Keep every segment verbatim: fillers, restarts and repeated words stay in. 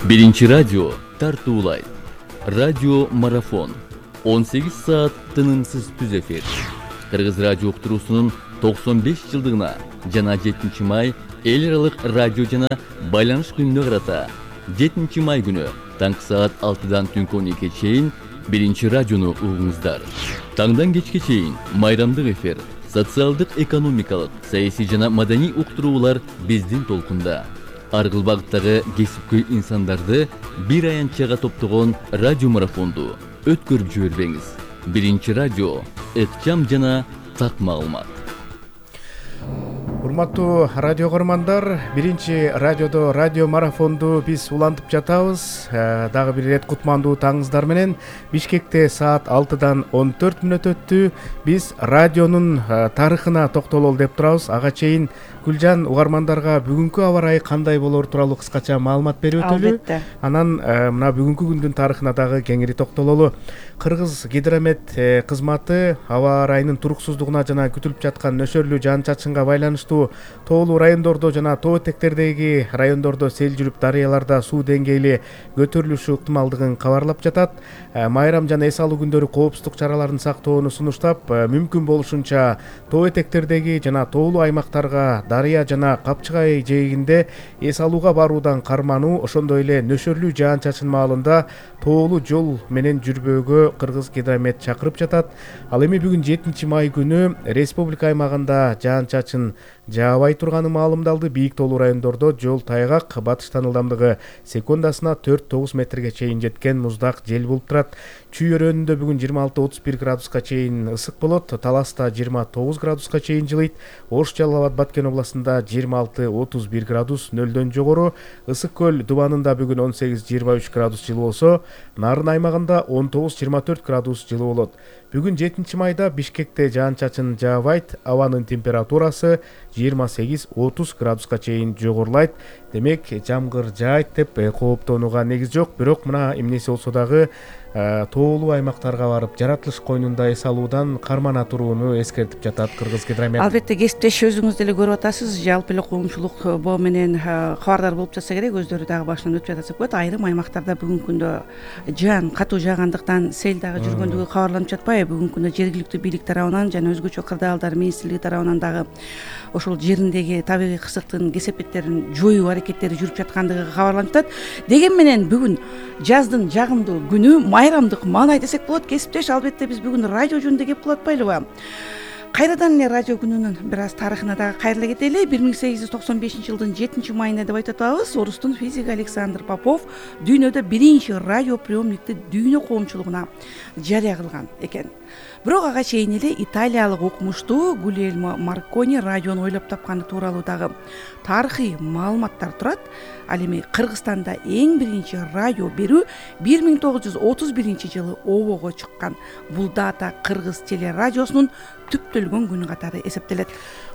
Биринчи радио тартуулайт. Радио марафон. он сегиз саат тынымсыз түз эфир. Кыргыз радио уктуруусунун токсон беш жылдыгына жана жетинчи май эл аралык радио жана байланыш күнүнө карата жетинчи май күнү таңкы саат алтыдан түнкү он экиге чейин биринчи радиону угуңуздар. Таңдан кечке чейин майрамдык эфир, социалдык, экономикалык, саясий жана маданий уктуруулар биздин толкунда. Ар кыл багыттагы кесипкөй инсандарды бир аянтчага топтогон радио марафонду өткөрүп жибербеңиз. Биринчи радио, ыкчам жана так маалымат. Урматтуу радио көрмандар, биринчи радиодо радио марафонду биз улантып жатабыз. Дагы бир ирет кутмандуу таңыңыздар менен. Бишкекте саат алтыдан он төрт мүнөт өттү. Биз радионун тарыхына токтололу деп турабыз. Ага чейин Гүлжан угармандарга бүгүнкү аба ырайы кандай болор тууралуу кыскача маалымат берип өтөлү. Албетте. Анан мына бүгүнкү күндүн тарыхына дагы кеңири токтололу. Кыргыз гидромет кызматы аба ырайынын туруксуздугуна жана күтүлүп жаткан нөшөрлүү жаан-чачынга байланыштуу тоолуу райондордо жана тоо этектердеги райондордо сел жүрүп, дарыяларда суу деңгээли көтөрүлүшү ыктымалдыгын кабарлап жатат. Майрам жана эс алуу күндөрү коопсуздук чараларын сактоону сунуштап, мүмкүн болушунча тоо этектердеги жана тоолуу аймактарга, дарыя жана Капчыгай жээгинде эс алууга баруудан кармануу, ошондой эле нөшөрлүү жаан-чачын маалында тоолуу жол менен жүрбөөгө Кыргыз гидромет чакырып жатат. Ал эми бүгүн жетинчи май күнү республика аймагында жаан-чачын жаабай турганы маалымдалды. Бийик тоолуу райондордо жол тайгак, батыштан ылдамдыгы секундасына төрт тогуз метрге чейин жеткен муздак жел болуп турат. Чүй өрөөнүндө бүгүн жыйырма алты отуз бир градуска чейин ысык болот. Таласта жыйырма тогуз градуска чейин жылыйт. Ош, Жалал Абад, Баткен областында жыйырма алты отуз бир градус, нөлдөн жогору. Ысык көл Дубанында бүгүн он сегиз жыйырма үч градус жылы болсо, Нарын аймагында он тогуз жыйырма төрт градус жылы болот. Бүгүн жетинчи майда Бишкекте жаан-чачын жаабайт, абанын температурасы жыйырма сегиз отуз градуска чейин жогорулайт. Демек, жамгыр жаайт деп кооптонууга негиз жок. Бирок мына эмнеси болсо дагы тоолуу аймактарга барып, жаратылыш койнунда эс алуудан кармана турууну эскертип жатат Кыргыз гидромет. Албетте, кесиптеш өзүңүз деле көрүп атасыз, жалпы эле коомчулук боо менен кабардар болуп жатса керек, өздөрү дагы башынан өтүп жатса болот. Айрым аймактарда бүгүнкү күндө жаан катуу жаагандыктан сел дагы жүргөндүгү кабарланып жатпайбы? Бүгүнкү күндө жергиликтүү бийлик тарабынан жана өзгөчө кырдаалдар министрлиги тарабынан дагы ошол жериндеги табигый кырсыктын кесепеттерин жоюу аракеттери жүрүп жаткандыгы кабарланып жатат. Деген менен бүгүн жаздын жагымдуу күнү, майрамдык маанай десек болот. Кесиптеш, албетте биз бүгүн радио жөнүндө кеп кылып атпайлыбы? Кайрадан эле радио күнүнүн бир аз тарыхына дагы кайрыла кетели. бир миң сегиз жүз токсон бешинчи жылдын жетинчи майында деп айтып атабыз, орустун физиги Александр Попов дүйнөдө биринчи радио приемникти дүйнө коомчулугуна жарыя кылган экен. Бирок ага чейин эле италиялык окумуштуу Гульельмо Маркони радиону ойлоп тапканы тууралуу дагы тарыхый маалыматтар турат. Ал эми Кыргызстанда эң биринчи радио берүү бир миң тогуз жүз отуз биринчи жылы обого чыккан. Бул дата Кыргыз телерадиосунун түптөлгөн күнү катары эсептелет.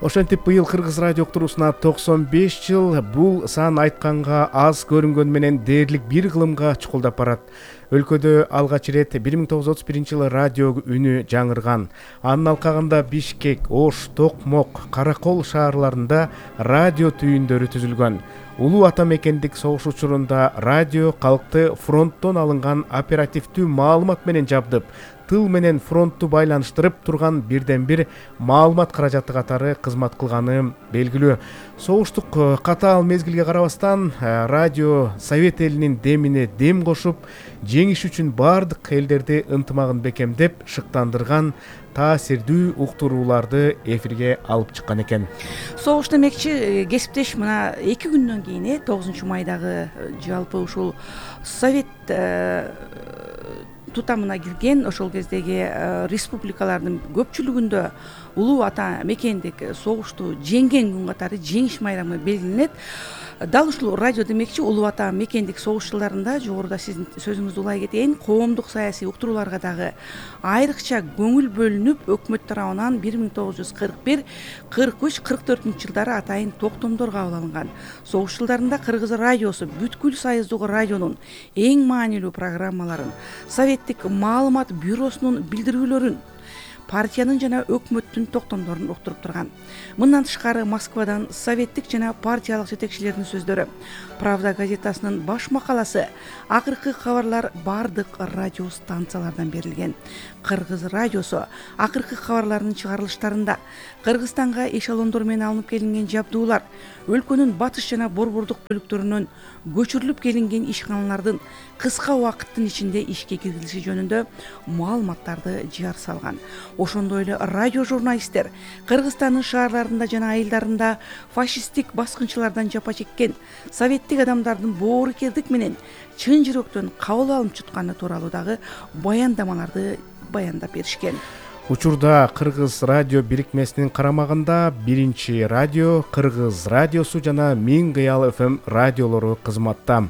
Ошентип быйыл Кыргыз радио уктуруусуна токсон беш жыл. Бул сан айтканга аз көрүнгөн менен дээрлик бир кылымга чукулдап барат. Өлкөдө алгач ирет бир миң тогуз жүз отуз биринчи жылы радио үнү жаңырган. Анын алкагында Бишкек, Ош, Токмок, Каракол шаарларында радио түйүндөрү түзүлгөн. Улуу ата мекендик согуш учурунда радио калкты фронттон алынган оперативдүү маалымат менен жабдып, тыл менен фронтту байланыштырып турган бирден бир маалымат каражаты катары кызмат кылганы белгилүү. Согуштук катаал мезгилге карабастан радио Совет элинин демине дем кошуп, жеңиш үчүн бардык элдерди ынтымагын бекемдеп, шыктандырган таасирдүү уктурууларды эфирге алып чыккан экен. Согуш демекчи, кесиптеш, мына эки күндөн кийин тогузунчу майдагы жалпы ушул Совет тутамына кирген ошол кездеги республикалардын көпчүлүгүндө улуу ата мекендик согушту жеңген күн катары жеңиш майрамы белгиленет. Дал ушул радио демекчи улуу ата мекендик согуш жылдарында, жогоруда сиздин сөзүңүздү улай кетейин, коомдук саясий уктурууларга дагы айрыкча көңүл бөлүнүп, өкмөт тарабынан бир миң тогуз жүз кырк бир, кырк үч, кырк төртүнчү жылдары атайын токтомдор кабыл алынган. Согуш жылдарында Кыргыз радиосу бүткүл союздук радионун эң маанилүү программаларын, Советтик маалымат бюросунун билдирүүлөрүн, партиянын жана өкмөттүн токтомдорун уктуруп турган. Мындан тышкары Москвадан советтик жана партиялык жетекчилердин сөздөрү, Правда газетасынын баш макаласы, акыркы кабарлар бардык радио станциялардан берилген. Кыргыз радиосу акыркы кабарларынын чыгарылыштарында Кыргызстанга эшелондор менен алынып келинген жабдуулар, өлкөнүн батыш жана борбордук бөлүктөрүнөн көчүрүлүп келинген ишканалардын кыска убакыттын ичинде ишке киргизилиши жөнүндө маалыматтарды жар салган. Ошондой эле радио журналисттер Кыргызстандын шаарларында жана айылдарында фашисттик баскынчылардан жапа чеккен советтик адамдардын боорукердик менен чын жүрөктөн кабыл алынып чыкканы тууралуу дагы баяндамаларды баяндап беришкен. Учурда Кыргыз радио бирикмесинин карамагында биринчи радио, Кыргыз радиосу жана Миң кыял эф эм радиолору кызматта.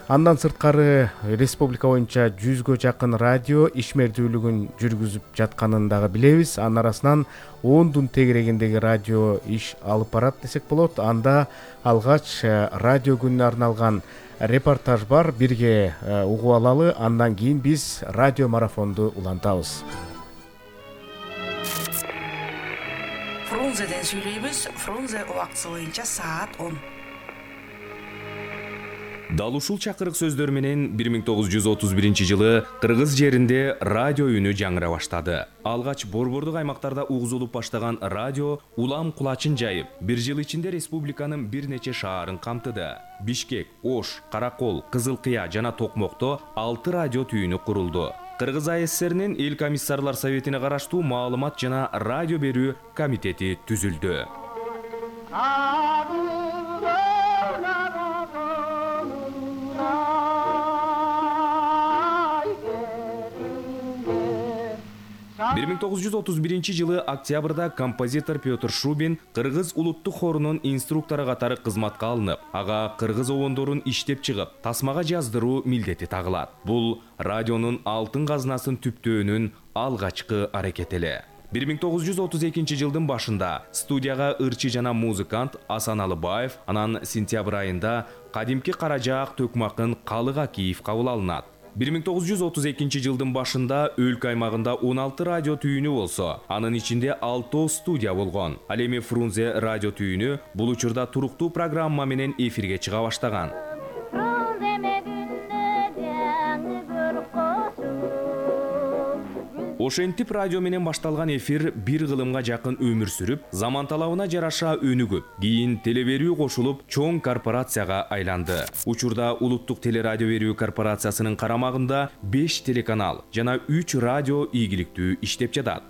Андан сырткары республика боюнча жүзгө жакын радио ишмердүүлүгүн жүргүзүп жатканын дагы билебиз. Анын арасынан ондун тегерегиндеги радио иш алып барат десек болот. Анда алгач радио күнүнө арналган репортаж бар. Бирге угуп алалы. Андан кийин биз радио марафонду улантабыз. Фрунзеден сүйлөйбүз. Фрунзе убактысы боюнча саат он. Дал ушул чакырык сөздөр менен бир миң тогуз жүз отуз биринчи жылы Кыргыз жеринде радио үнү жаңыра баштады. Алгач борбордук аймактарда угузулуп баштаган радио улам кулачын жайып, бир жыл ичинде республиканын бир нече шаарын камтыды. Бишкек, Ош, Каракол, Кызыл Кыя жана Токмокто алты радио түйүнү курулду. Кыргыз а эс эс эринин Эл комиссарлар советине караштуу маалымат жана радио берүү комитети түзүлдү. бир миң тогуз жүз отуз биринчи жылы октябрда композитор Петр Шубин Кыргыз улуттук хорунун инструктору катары кызматка алынып, ага кыргыз обондорун иштеп чыгып, тасмага жаздыруу милдети тагылат. Бул радионун алтын казынасын түптөөнүн алгачкы аракети эле. бир миң тогуз жүз отуз экинчи жылдын башында студияга ырчы жана музыкант Асан Алыбаев, анан сентябрь айында кадимки Каражаак Төкмакын Калык Акиев кабыл алынат. бир миң тогуз жүз отуз экинчи жылдын башында өлкө аймагында он алты радио түйүнү болсо, анын ичинде алтоо студия болгон. Ал эми Фрунзе радио түйүнү бул учурда туруктуу программа менен эфирге чыга баштаган. Ошентип радио менен башталган эфир бир кылымга жакын өмүр сүрүп, заман талабына жараша өнүгүп, кийин телеберүү кошулуп, чоң корпорацияга айланды. Учурда улуттук телерадио берүү корпорациясынын карамагында беш телеканал жана үч радио ийгиликтүү иштеп жатат.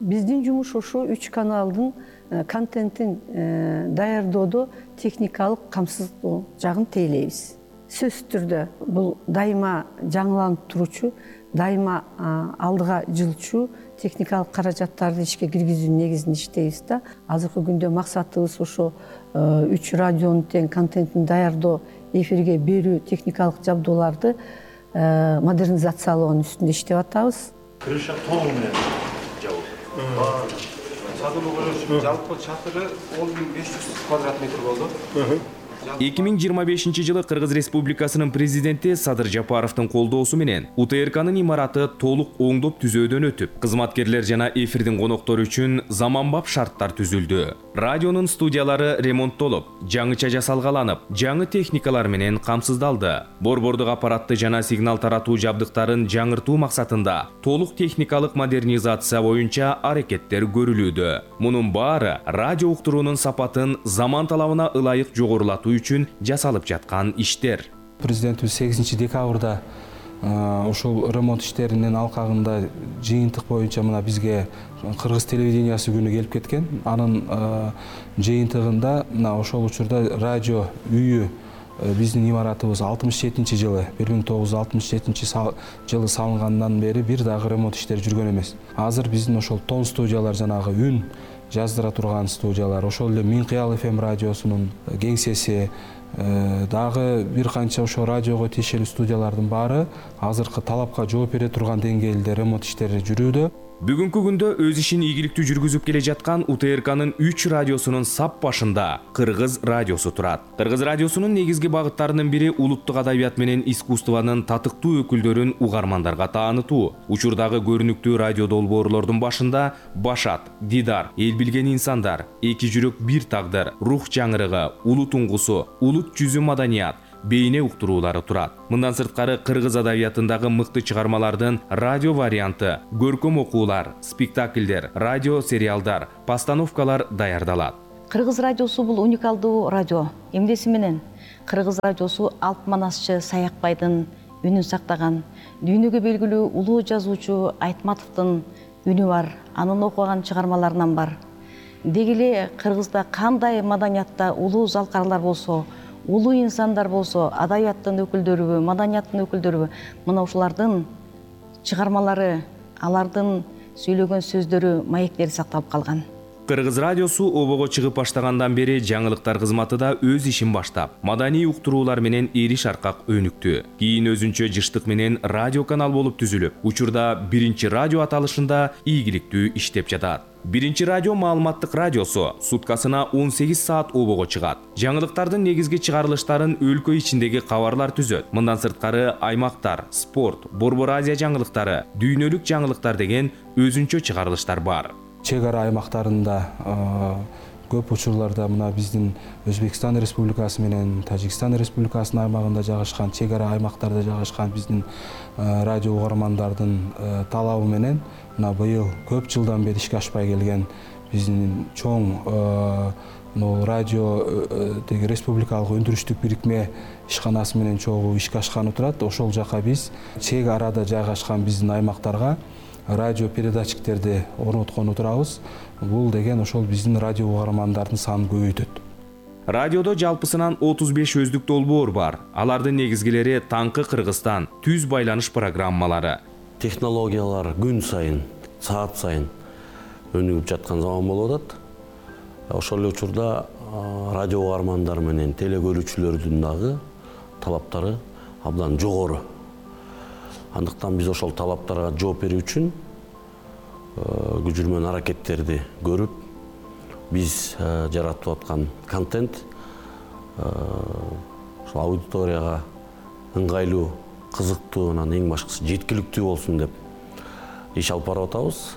Биздин жумуш ошо үч каналдын контентин даярдоодо техникалык камсыздоо жагын тейлейбиз. Сөзсүз түрдө бул дайыма жаңыланып туручу, дайыма алдыга жылчу техникалык каражаттарды ишке киргизүү негизинде иштейбиз да. Азыркы күндө максатыбыз ошо үч радионун тең контентин даярдоо, эфирге берүү техникалык жабдууларды модернизациялоонун үстүндө иштеп атабыз. Крыша толугу менен жабылды. Сатылуу көрүнүшү жалпы чатыры он миң беш жүз квадрат метр болду. эки миң жыйырма бешинчи жылы Кыргыз Республикасынын президенти Садыр Жапаровдун колдоосу менен У Т Р К'нын имараты толук оңдоп түзөөдөн өтүп, кызматкерлер жана эфирдин коноктору үчүн заманбап шарттар түзүлдү. Радионун студиялары ремонттолуп, жаңыча жасалгаланып, жаңы техникалар менен камсыздалды. Борбордук аппаратты жана сигнал таратуу жабдыктарын жаңыртуу максатында толук техникалык модернизация боюнча аракеттер көрүлүүдө. Мунун баары радио уктуруунун сапатын заман талабына ылайык жогорулатуу үчүн жасалып жаткан иштер. Президентибиз сегизинчи декабрда ошол ремонт иштеринин алкагында жыйынтык боюнча мына бизге Кыргыз телевидениясы күнү келип кеткен. Анын жыйынтыгында мына ошол учурда радио үйү биздин имаратыбыз алтымыш жетинчи жылы, бир миң тогуз жүз алтымыш жетинчи жылы салынгандан бери бир дагы ремонт иштери жүргөн эмес. Азыр биздин ошол тон студиялар, жанагы үн жаздыра турган студиялар, ошол эле Миң кыял эф эм радиосунун кеңсеси, дагы бир канча ошо радиого тиешелүү студиялардын баары азыркы талапка жооп бере турган деңгээлде ремонт иштери жүрүүдө. Бүгүнкү күндө өз ишин ийгиликтүү жүргүзүп келе жаткан У Т Р К'нын үч радиосунун сап башында Кыргыз радиосу турат. Кыргыз радиосунун негизги багыттарынын бири улуттук адабият менен искусствонун татыктуу өкүлдөрүн угармандарга таанытуу. Учурдагы көрүнүктүү радио долбоорлордун башында Башат, Дидар, Эл билген инсандар, Эки жүрөк бир тагдыр, Рух жаңырыгы, Улут уңгусу, Улут жүзү маданият, бейне уктуруулары турат. Мындан сырткары кыргыз адабиятындагы мыкты чыгармалардын радио варианты, көркөм окуулар, спектакльдер, радио сериалдар, постановкалар даярдалат. Кыргыз радиосу бул уникалдуу радио. Эмнеси менен? Кыргыз радиосу Алп Манасчы Саякбайдын үнүн сактаган, дүйнөгө белгилүү улуу жазуучу Айтматовдун үнү бар, анын окуган чыгармаларынан бар. Деги эле Кыргызда кандай маданиятта улуу залкарлар болсо, улуу инсандар болсо, адабияттын өкүлдөрүбү, маданияттын өкүлдөрүбү, мына ушулардын чыгармалары, алардын сүйлөгөн сөздөрү, маектери сакталып калган. Кыргыз радиосу обого чыгып баштагандан бери жаңылыктар кызматы да өз ишин баштап, маданий уктуруулар менен эриш аркак өнүктү. Кийин өзүнчө жыштык менен радио канал болуп түзүлүп, учурда биринчи радио аталышында ийгиликтүү иштеп жатат. Биринчи радио маалыматтык радиосу суткасына он сегиз саат обого чыгат. Жаңылыктардын негизги чыгарылыштарын өлкө ичиндеги кабарлар түзөт. Мындан сырткары аймактар, спорт, Борбор Азия жаңылыктары, дүйнөлүк жаңылыктар деген өзүнчө чыгарылыштар бар. Чек ара аймактарында көп учурларда мына биздин Өзбекстан Республикасы менен Тажикстан Республикасынын аймагында жайгашкан, чек ара аймактарда жайгашкан биздин радио угармандардын талабы менен мына быйыл көп жылдан бери ишке ашпай келген биздин чоң радио деги республикалык өндүрүштүк бирикме ишканасы менен чогуу ишке ашканы турат. Ошол жака биз чек арада жайгашкан биздин аймактарга радио передатчиктерди орноткону турабыз. Бул деген ошол биздин радио угармандардын санын көбөйтөт. Радиодо жалпысынан отуз беш өздүк долбоор бар. Алардын негизгилери Таңкы Кыргызстан, Түз байланыш программалары. Технологиялар күн сайын, саат сайын өнүгүп жаткан заман болуп атат. Ошол эле учурда радио угармандар менен теле көрүүчүлөрдүн дагы талаптары абдан жогору. Андыктан биз ошол талаптарга жооп берүү үчүн күч жүрмөн аракеттерди көрүп, биз жаратып аткан контент ошол аудиторияга ыңгайлуу, кызыктуу, анан эң башкысы жеткиликтүү болсун деп иш алып барып атабыз.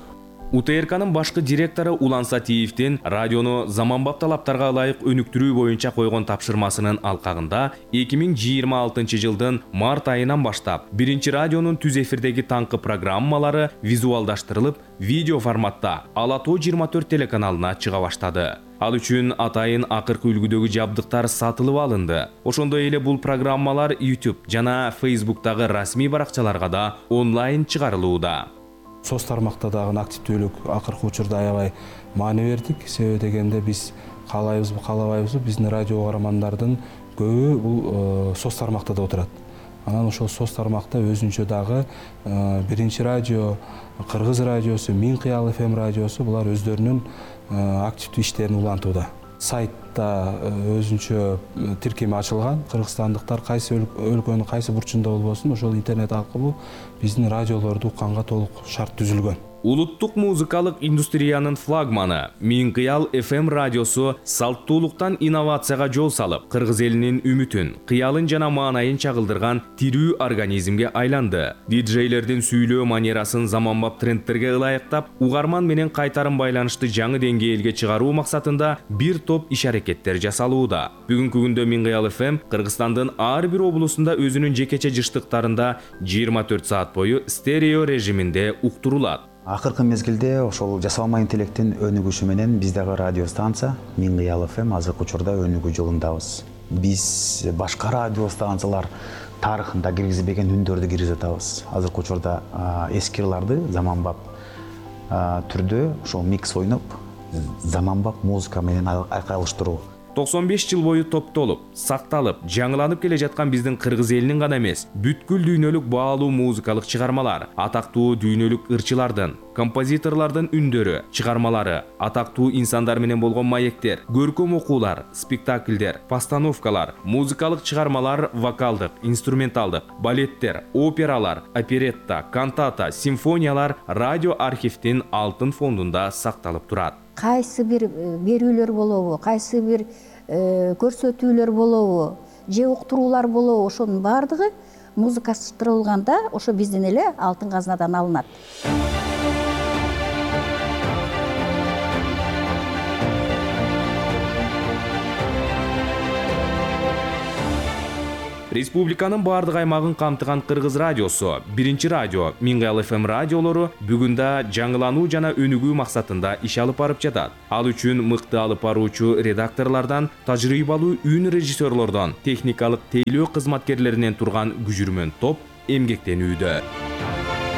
У Т Р К'нын башкы директору Улан Сатиевдин радиону заманбап талаптарга ылайык өнүктүрүү боюнча койгон тапшырмасынын алкагында эки миң жыйырма алтынчы жылдын март айынан баштап биринчи радионун түз эфирдеги Таңкы программалары визуалдаштырылып, видео форматта Ала тоо жыйырма төрт телеканалына чыга баштады. Ал үчүн атайын акыркы үлгүдөгү жабдыктар сатылып алынды. Ошондой эле бул программалар YouTube жана Facebook'тагы расмий баракчаларга да онлайн чыгарылууда. Соц тармакта дагы активдүүлүк акыркы учурда аябай маани бердик. Себеби дегенде биз каалайбызбы, каалабайбызбы, биздин радио угармандардын көбү бул соц тармакта да отурат. Анан ошол соц тармакта өзүнчө дагы биринчи радио, Кыргыз радиосу, Миң Кыял эф эм радиосу булар өздөрүнүн активдүү иштерин улантууда. Сайтта өзүнчө тиркеме ачылган. Кыргызстандыктар кайсы өлкөнүн кайсы бурчунда болбосун, ошол интернет аркылуу биздин радиолорду укканга толук шарт түзүлгөн. Улуттук музыкалык индустриянын флагманы Миң Кыял эф эм радиосу салттуулуктан инновацияга жол салып, кыргыз элинин үмүтүн, кыялын жана маанайын чагылдырган тирүү организмге айланды. Диджейлердин сүйлөө манерасын заманбап трендтерге ылайыктап, угарман менен кайтарым байланышты жаңы деңгээлге чыгаруу максатында бир топ иш аракеттер жасалууда. Бүгүнкү күндө Миң Кыял эф эм Кыргызстандын ар бир облусунда өзүнүн жекече жыштыктарында жыйырма төрт саат бою стерео режиминде уктурулат. Акыркы мезгилде ошол жасалма интеллекттин өнүгүшү менен биз дагы радио станция Миң Кыял эф эм азыркы учурда өнүгүү жолундабыз. Биз башка радио станциялар тарыхында киргизбеген үндөрдү киргизип атабыз. Азыркы учурда эски ырларды заманбап түрдө ошол микс ойноп, заманбап музыка менен айкайлаштыруу. токсон беш жыл бою топтолуп, сакталып, жаңыланып келе жаткан биздин кыргыз элинин гана эмес, бүткүл дүйнөлүк баалуу музыкалык чыгармалар, атактуу дүйнөлүк ырчылардын, композиторлордун үндөрү, чыгармалары, атактуу инсандар менен болгон маектер, көркөм окуулар, спектакльдер, постановкалар, музыкалык чыгармалар, вокалдык, инструменталдык, балеттер, опералар, оперетта, кантата, симфониялар радио архивдин алтын фондунда сакталып турат. Кайсы бир берүүлөр болобу, кайсы бир көрсөтүүлөр болобу, же уктуруулар болобу, ошонун баардыгы музыкаштырылганда ошо биздин эле алтын казнадан алынат. Республиканын бардык аймагын камтыган Кыргыз радиосу, биринчи радио, Миңгаял эф эм радиолору бүгүндө жаңылануу жана өнүгүү максатында иш алып барып жатат. Ал үчүн мыкты алып баруучу редакторлордон, тажрыйбалуу үн режиссерлордон, техникалык тейлөө кызматкерлеринен турган күжүрмөн топ эмгектенүүдө.